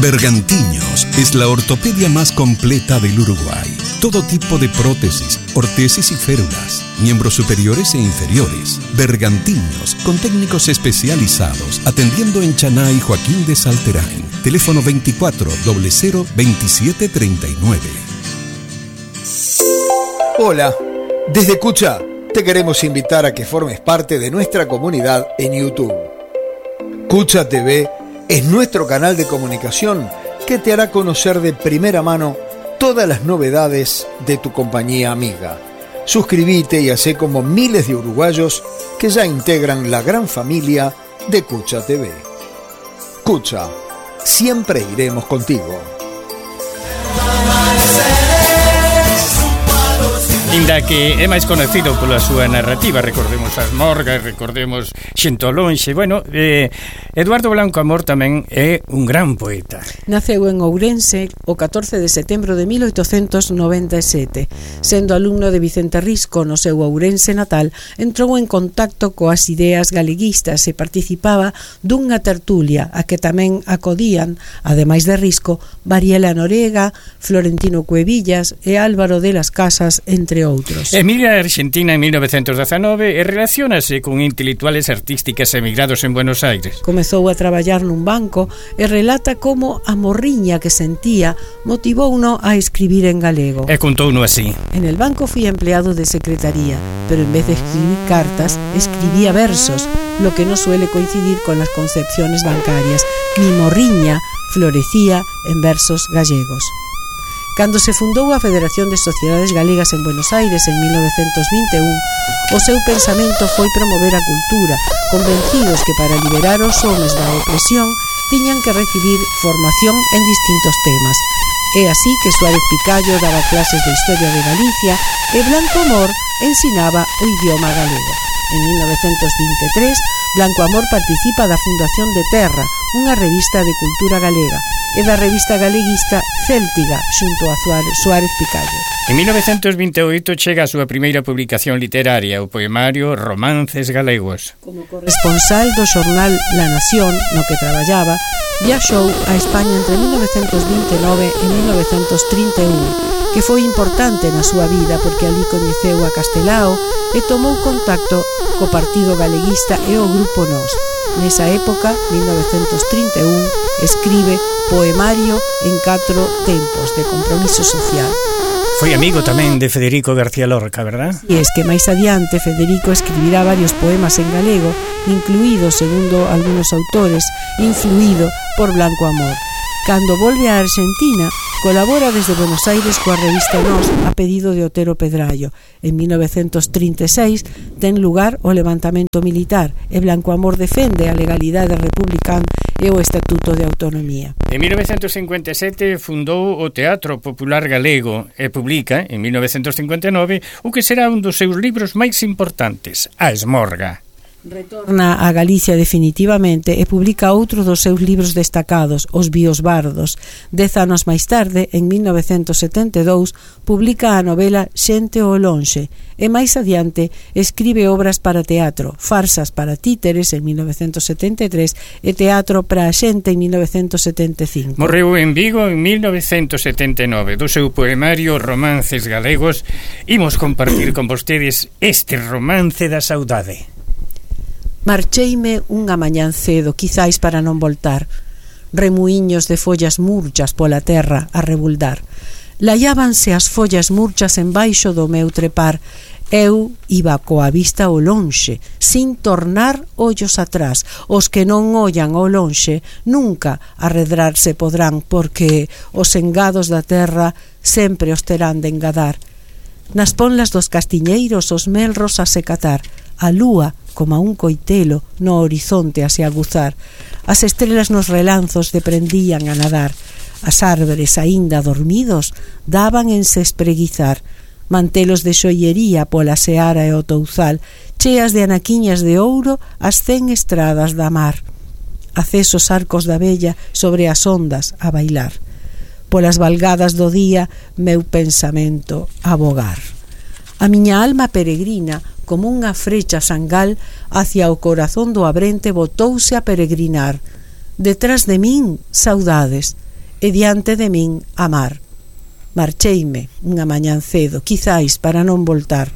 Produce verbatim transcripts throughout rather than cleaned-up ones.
Bergantiños es la ortopedia más completa del Uruguay. Todo tipo de prótesis, ortesis y férulas, miembros superiores e inferiores. Bergantiños, con técnicos especializados, atendiendo en Chaná y Joaquín de Salterain. Teléfono veinticuatro cero cero veintisiete treinta y nueve. Hola, desde Cucha te queremos invitar a que formes parte de nuestra comunidad en YouTube. Cucha T V es nuestro canal de comunicación que te hará conocer de primera mano todas las novedades de tu compañía amiga. Suscríbete y hacé como miles de uruguayos que ya integran la gran familia de Cucha T V. Cucha, siempre iremos contigo. Inda que é máis conocido pola súa narrativa, recordemos as Morgas, recordemos Xente ao lonxe. Bueno, eh, Eduardo Blanco Amor tamén é un gran poeta. Naceu en Ourense o catorce de setembro de mil oitocentos noventa e sete. Sendo alumno de Vicente Risco no seu Ourense natal, entrou en contacto coas ideas galeguistas e participaba dunha tertulia a que tamén acodían, ademais de Risco, Variela Norega, Florentino Cuevillas e Álvaro de las Casas, entre outros. Emigra a Argentina en mil novecentos dezanove e relaciónase con intelectuales artísticas emigrados en Buenos Aires. Comezou a traballar nun banco e relata como a morriña que sentía motivouno a escribir en galego. E contouno así: en el banco fui empleado de secretaría, pero en vez de escribir cartas, escribía versos, lo que no suele coincidir con las concepciones bancarias. Mi morriña florecía en versos gallegos. Cando se fundou a Federación de Sociedades Galegas en Buenos Aires en mil novecentos vinte e un, o seu pensamento foi promover a cultura, convencidos que para liberar os homes da opresión tiñan que recibir formación en distintos temas. É así que Suárez Picallo daba clases de Historia de Galicia e Blanco Amor ensinaba o idioma galego. En mil novecentos vinte e tres, Blanco Amor participa da Fundación de Terra, unha revista de cultura galega, e da revista galeguista Céltiga, xunto a Suárez Picallo. En mil novecentos vinte e oito chega a súa primeira publicación literaria, o poemario Romances Galegos. Como corresponsal do xornal La Nación, no que traballaba, viaxou a España entre mil novecentos vinte e nove e mil novecentos trinta e un, que foi importante na súa vida porque ali coñeceu a Castelao e tomou contacto co Partido Galeguista e o Grupo Nós. Nesa época, mil novecentos trinta e un, escribe Poemario en catro tempos, de compromiso social. Foi amigo tamén de Federico García Lorca, verdad? E es que máis adiante Federico escribirá varios poemas en galego, incluído, segundo algunos autores, influído por Blanco Amor. Cando volve a Argentina, colabora desde Buenos Aires coa revista Nós a pedido de Otero Pedrallo. En mil novecentos trinta e seis ten lugar o levantamento militar e Blanco Amor defende a legalidade republicana e o Estatuto de Autonomía. En mil novecentos cincuenta e sete fundou o Teatro Popular Galego e publica, en mil novecentos cincuenta e nove, o que será un dos seus libros máis importantes, A Esmorga. Retorna a Galicia definitivamente e publica outro dos seus libros destacados, Os Biosbardos. Dez anos máis tarde, en mil novecentos setenta e dous, publica a novela Xente ao lonxe e máis adiante escribe obras para teatro, Farsas para títeres en mil novecentos setenta e tres e Teatro para a xente en mil novecentos setenta e cinco. Morreu en Vigo en mil novecentos setenta e nove. Do seu poemario Romances Galegos imos compartir con vostedes este romance da saudade. Marcheime unha mañán cedo, quizáis para non voltar. Remuíños de follas murchas pola terra a rebuldar. Laiábanse as follas murchas embaixo do meu trepar. Eu iba coa vista ao lonxe, sin tornar ollos atrás. Os que non ollan ao lonxe nunca arredrarse podrán, porque os engados da terra sempre os terán de engadar. Nas ponlas dos castiñeiros os melros a secatar. A lúa, como a un coitelo, no horizonte a se aguzar. As estrelas nos relanzos deprendían a nadar. As árbores, aínda dormidos, daban en se espreguizar. Mantelos de xoiería pola seara e o touzal, cheas de anaquiñas de ouro as cen estradas da mar. Acesos arcos da vella sobre as ondas a bailar. Polas valgadas do día, meu pensamento a vogar. A miña alma peregrina, como unha frecha sangal, hacia o corazón do abrente botouse a peregrinar. Detrás de min, saudades. e diante de min a mar. Marcheime unha mañán cedo, quizáis para non voltar.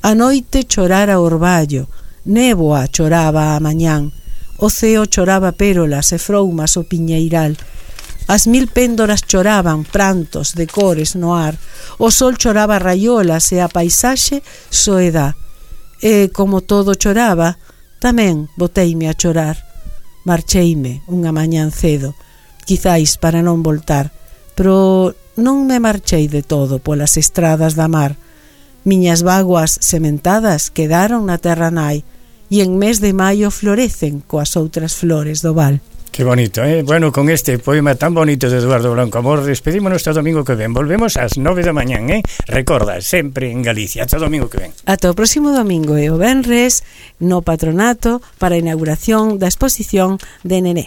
A noite chorara o orballo, néboa choraba a mañán, o ceo choraba pérolas e froumas o piñeiral. As mil péndoras choraban prantos de cores no ar, o sol choraba raiolas e a paisaxe soedá. E como todo choraba, tamén boteime a chorar. Marcheime unha mañán cedo, quizáis para non voltar, pero non me marchei de todo polas estradas da mar. Miñas vaguas sementadas quedaron na terra nai, e en mes de maio florecen coas outras flores do val. Qué bonito, eh? Bueno, con este poema tan bonito de Eduardo Blanco Amor, despedímonos hasta o domingo que ven. Volvemos ás nove da mañán, eh? Recorda, sempre en Galicia. Ata o domingo que ven. Ata o próximo domingo e o venres no Patronato para a inauguración da exposición de Nené.